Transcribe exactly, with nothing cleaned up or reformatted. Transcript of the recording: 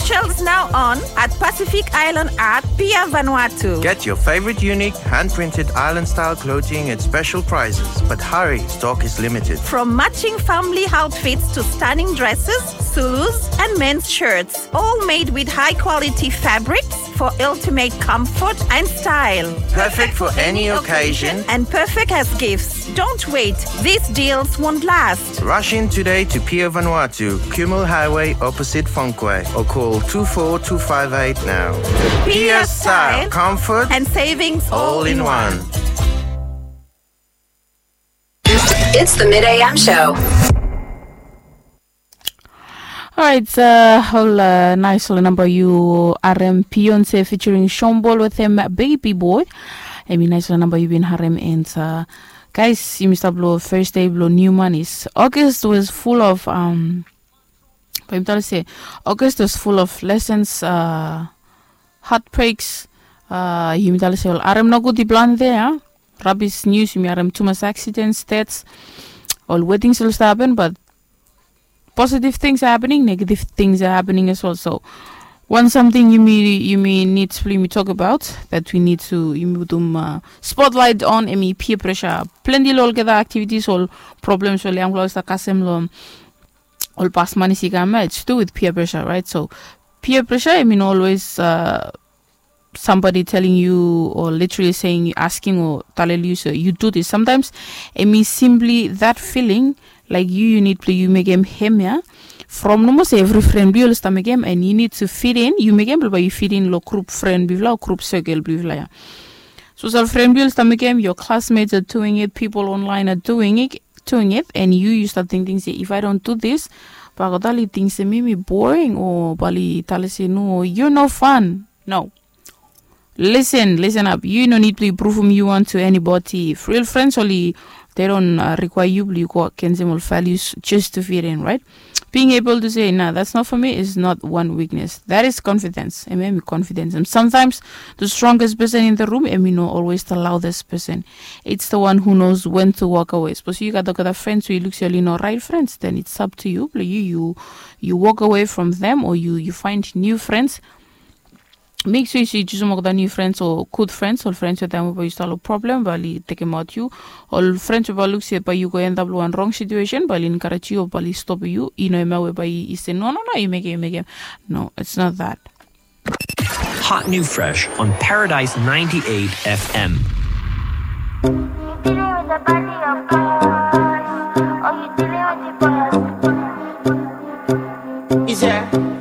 Shelves now on at Pacific Island at Pier Vanuatu. Get your favorite unique hand-printed island-style clothing at special prices, but hurry, stock is limited. From matching family outfits to stunning dresses, Zulus, and men's shirts, all made with high-quality fabrics for ultimate comfort and style. Perfect for any occasion and perfect as gifts. Don't wait, these deals won't last. Rush in today to Pier Vanuatu, Kumul Highway, opposite Funkway, or call two four two five eight now. Pier style, comfort, and savings all in one. It's the Mid A M show. Alright, uh, ol uh, nice ol namba yu harem, Beyonce featuring Sean Paul wetem Baby Boy. Hemi nice ol namba yu bin harem, and uh, guys, yumi stap lo first day blo new months. August was full of um, bae yumi talem se August was full of lessons, uh, heartbreaks. Uh, yumi talem se ol harem nogud i plante ya. Rabis nius, yumi harem tumas accidents, deaths, ol weddings oli stap hapen, but positive things are happening, negative things are happening as well. So wan samting yumi, yumi nid blo yumi tokbaot, that we need to, yumi putum uh, spotlight on, hemi peer pressure. Plante lo olgeta activities, ol problems oli yangfala oli stap kasem lo ol pas manis i kam ya, it's to do with peer pressure, right? So peer pressure, I mean, always uh, somebody telling you or literally saying, asking or talem yu se yu do this. Sometimes hemi simply that feeling, like yu, yu nid blo yu mekem hemia from nomo se evri fren blo yu oli stap mekem, and yu nid to fit in, yu mekem blo bae yu fit in lo grup fren blo yufala o grup circle blo yufala ya. So sapos fren blo yu oli stap mekem, your classmates are doing it, people online are doing it, doing it, and yu, yu stap tingting se if I don't do this, bae olgeta oli ting se mi, mi boring, o bae oli talem se no, you're no fun. No. Listen, listen up. Yu no nid blo yu pruvum yu wan to anybody. If real friends oli, they don't uh, require yu blo yu go agensem ol values just to fit in, right? Being able to say, nah, that's not for me, is not one weakness. That is confidence. Hemi, hemi confidence. And sometimes the strongest person in the room, hemi no always the loudest person. It's the one who knows when to walk away. Sapos yu gat olgeta friends we yu luk se oli no right friends, then it's up to you. Blo yu, yu, yu walk away from them, or yu, yu find new friends. Make sure se yu jusum olgeta new friends o good friends, ol friends wetem we bae yu stap lo problem, bae oli tekemaot yu. Ol friends we bae luk se bae yu go end up lo wan wrong situation, bae oli encourage yu o bae oli stop yu. I no hemia we bae i se no, no, no, yu mekem, yu mekem. No, it's not that. Hot new fresh on Paradise ninety-eight F M. You dealing with the body of God, or you dealing with the boy of the boy? Is there?